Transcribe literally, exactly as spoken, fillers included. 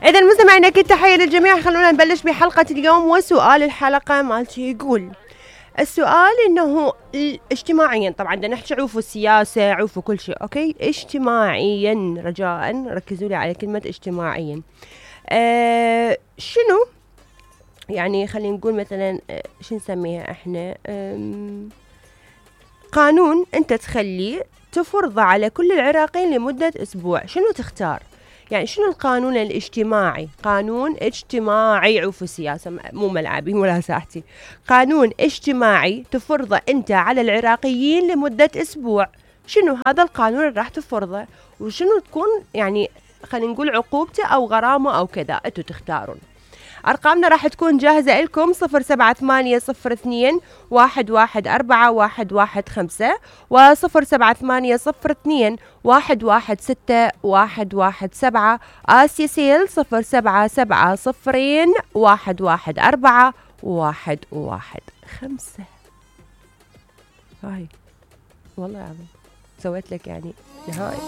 إذا مستمعينا أكيد تحية للجميع. خلونا نبلش بحلقة اليوم، وسؤال الحلقة مالتي يقول السؤال إنه اجتماعيا، طبعا بدنا نحكي عوفوا السياسة، عوفوا كل شيء، أوكي؟ اجتماعيا، رجاء ركزوا لي على كلمة اجتماعيا. أه شنو يعني؟ خلينا نقول مثلا أه شو نسميها احنا، قانون انت تخليه تفرضه على كل العراقيين لمدة اسبوع، شنو تختار؟ يعني شنو القانون الاجتماعي؟ قانون اجتماعي، عوف السياسة مو ملعبي ولا ساحتي، قانون اجتماعي تفرضه انت على العراقيين لمدة اسبوع، شنو هذا القانون اللي راح تفرضه؟ وشنو تكون يعني خلينا نقول عقوبته او غرامة او كذا، انتوا تختارون. أرقامنا راح تكون جاهزة لكم صفر سبعة ثمانية صفر اثنين واحد واحد أربعة واحد واحد خمسة وصفر سبعة ثمانية صفر اثنين واحد واحد ستة واحد واحد سبعة. آسيا سيل صفر سبعة سبعة صفرين واحد واحد أربعة واحد واحد خمسة. هاي والله العظيم سويت لك يعني نهائي.